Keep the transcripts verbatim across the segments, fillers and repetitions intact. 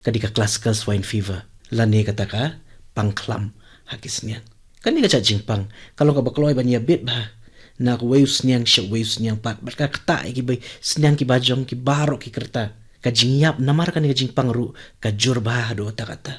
ka dei ka classical swine fever, lane kata ka pang khlam ha ki sniang. Kane ka jait jingpang ka long kaba kloi ban ïabit bha na kawei u sniang sha uwei u sniang pat, bad ka ktah ïa ki ba sniang ki bajong ki baroh ki kyrta. Ka jingïap namar kane ka jingpang ruh ka jur bha haduh katta katta.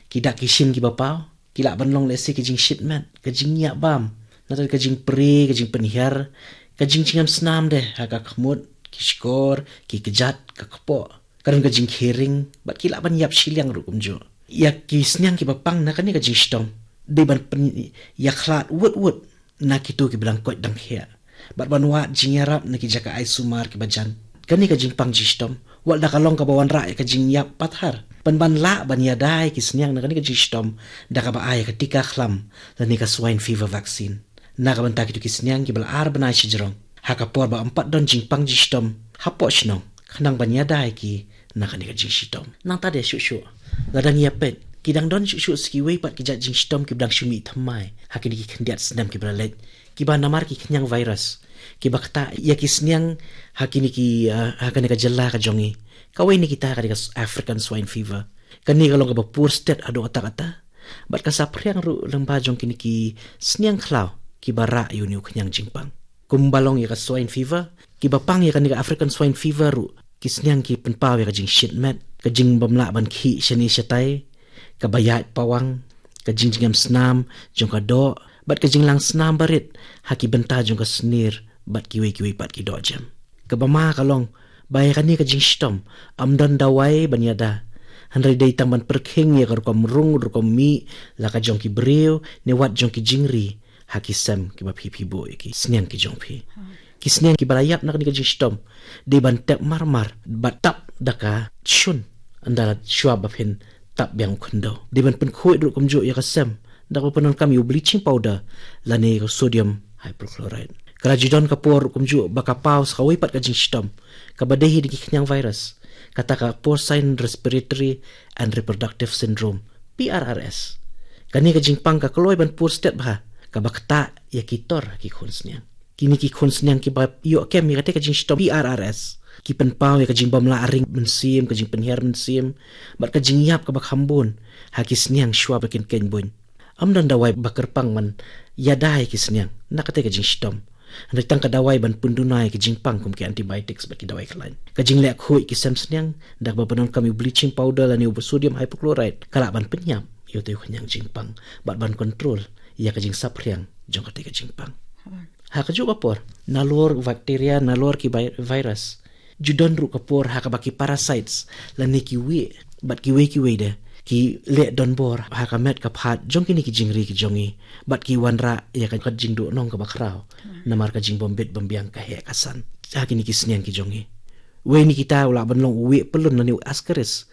Ki dak ki shin kiba paw ki lah ban long lehse ki jingshit met, ka jingïap bam, nangta ka jingpre, ka jingpynhiar, ka jingjngem snam de ha ka khmut, ki shkor, ki kjat, ka kpoh. Ka don ka jingkhering bad ki lah ban ïap shiliang ruh kumjuh. Ïa ki sniang kiba pang na kane ka jingshitom dei ban pynïakhlad wut wut na kito kiba dang koit dang khiah, bad ban wad jingïarap na ki jaka ai sumar kiba jan. Kane ka jingpang jingshitom wat la ka long kaba wanrah ïa ka jingïap pathar, pynban lah ban ïada ïa ki sniang na kane ka jingshitom da kaba ai ïa ka tika khlam lane ka swine fever vaccine na ka bynta kito ki sniang kiba la ar bnai shajrong ha ka por ba ym pat don jingpang jingshitom hapoh shnong, khnang ban ïada ïa ki na kane ka jingshitom. Nangta de shuh shuh, la dang ïa peit, ki dang don shuh shuh sa kiwei pat ki jait jingshitom kiba dang shu mih thymmai ha kine ki khyndiat snem kiba la leit, kiba namar ki khñiang virus kiba ktah ïa ki sniang ha kine ki, ah, ha kane ka jylla ka jong ngi. Kawei na kita ka dei ka s-, African swine fever. Kane ka long kaba pur stet haduh katta katta, bad ka saphriang ruh lyngba jong kine ki sniang khlaw kiba rah ïa une u khñiang jingpang. Kumba long ïa ka swine fever, kiba pang ïa kane ka African swine fever ruh, ki sniang ki pynpaw ïa ka jingshit met, ka jingbymlah ban khih shane shatai, kaba ïaid pawang, ka jingjngem snam jong ka doh, bad ka jinglang snam barit ha ki bynta jong ka snier bad kiwei kiwei pat ki dohjem. Kaba ma ka long ba ïa kane ka jingshitom ym don dawai ban ïada, hynrei dei tang ban pyrkhing ïa ka rukom rung rukom mih, la ka jong ki briew ne wat jong ki jingri ha ki sem kiba phi phi buh ïa ki sniang ki jong phi. Ki sniang kiba la ïap na kane ka jingshitom dei ban tep mar mar bad tap da ka shun ynda la shuwa ba phin tap biang u khyndew. Dei ban pynkhuid ruh kumjuh ïa ka sem da kaba pyndonkam ïa u bleaching powder lane ïa ka sodium hypochlorite. Ka la ju don ka por ruh kumjuh ba ka paw sa kawei pat ka jingshitom kaba dei hi da ki khñiang virus, kata ka porcine respiratory and reproductive syndrome, P R R S. Kane ka jingpang ka kloi ban pur stet bha, kaba ktah ïa ki tor ha ki khun sniang. Kine ki khun sniang kiba ïoh kem ïa kata ka jingshitom P R R S ki pynpaw ïa ka jingbymlah ring mynsiem, ka jingpynhiar mynsiem, bad ka jingïap kaba kham bun ha ki sniang shuwa ba kin khein buiñ. Ym don dawai ba kyrpang ban ïada ïa ki sniang na kata ka jingshitom, hynrei tang ka dawai ban pynduna ïa ki jingpang kum ki antibiotics bad ki dawai khlaiñ. Ka jingleh khuid ki sem sniang da kaba pyndonkam ïa u bleaching powder lane u sodium hypochlorite ka lah ban pynïap ïa utei u khñiang jingpang bad ban kontrol ïa ka jingsaphriang jong katei ka jingpang. Ha kajuh ka por, nalor bakteria, nalor ki bi-, virus, ju don ruh ka por ha kaba ki parasites lane ki wieh bad kiwei kiwei de ki leh donbor ha ka met ka phad jong kine ki jingri ki jong ngi, bad ki wanrah ïa ka jingduhnong kaba khraw namar ka jingbym bit bym biang, ka heh ka san ha kine ki sniang ki jong ngi. Wei na kita u lah ban long u wieh pyllun lane u ascaris,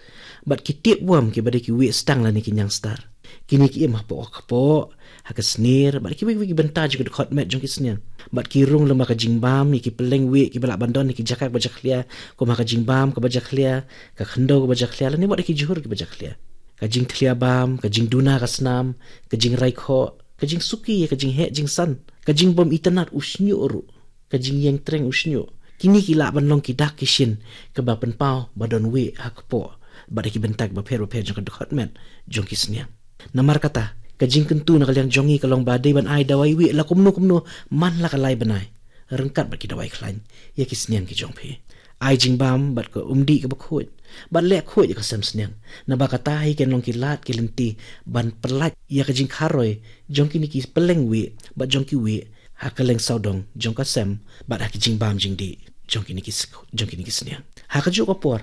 bad ki tapeworm kiba dei ki wieh stang lane ki ñiangstar. Kine ki im hapoh ka kpoh, ha ka snier, bad kiwei kiwei ki bynta jong ka dkhot met jong ki sniang. Bad ki rung lyngba ka jingbam ïa ki pylleng wieh kiba lah ban don ha ki jaka kaba jakhlia, kum ha ka jingbam kaba jakhlia, ka khyndew kaba jakhlia, lane wat ha ki jhur kiba jakhlia. Ka jingthlia bam, ka jingduna ka snam, ka jingrai khoh, ka jingsuki, ka jingheh jingsan, ka jingbym itynnad u shñiuh ruh, ka jingïeng treng u shñiuh. Kine ki lah ban long ki dak ki shin kaba pynpaw ba don wieh ha kpoh bad ha ki bynta kiba pher ba pher jong ka dkhot met jong ki sniang. Namar kata, ka jingkyntu na ka liang jong ngi ka long ba dei ban ai dawai wieh la kumno kumno man la ka lai bnai, ryngkat bad ki dawai khlaiñ, ïa ki sniang ki jong phi. Ai jingbam bad ka umdih kaba khuid, bad leh khuid ïa ka sem sniang. Naba kata hi kan long ki lad ki lynti ban pyllait ïa ka jingkharoi jong kine ki pylleng wieh bad jong ki wieh ha kylleng sawdong jong ka sem bad ha ki jingbam jingdih jong kine ki s-, jong kine ki sniang. Ha kajuh ka por,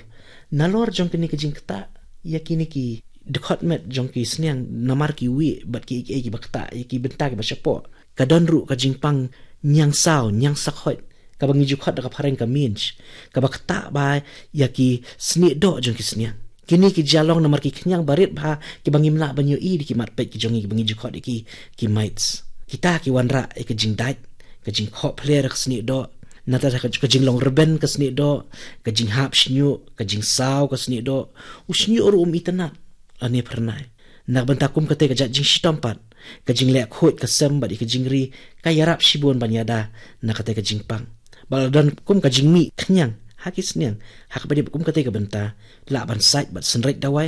nalor jong kine ki jingktah ïa kine ki dkhot met jong ki sniang namar ki wieh bad kiei kiei kiba ktah ïa ki bynta kiba shapoh, ka don ruh ka jingpang ñiangsaw, ñiangsak hoit, kaba ngi ju khot da ka phareng ka mange, kaba ktah bha ïa ki snieh doh jong ki sniang. Kine ki jia long namar ki khñiang barit bha kiba ngim lah ban ïohi da ki mat peit ki jong ngi, kiba ngi ju khot ïa ki, ki mites. Kita ki wanrah ïa ka jingdait, ka jingkhoh pler ka snieh doh, nangta ka, ka jinglong rben ka snieh doh, ka jinghap shñiuh, ka jingsaw ka snieh doh, u shñiuh ruh um itynnad lane phyrnai. Na ka bynta kum katei ka jait jingshitom pat, ka jingleh khuid ka sem bad ïa ka jingri ka ïarap shibun ban ïada na katei ka jingpang. Bad la don kum ka jingmih khñiang ha ki sniang, ha kaba dei bad kum katei ka bynta, lah ban sait bad synreit dawai,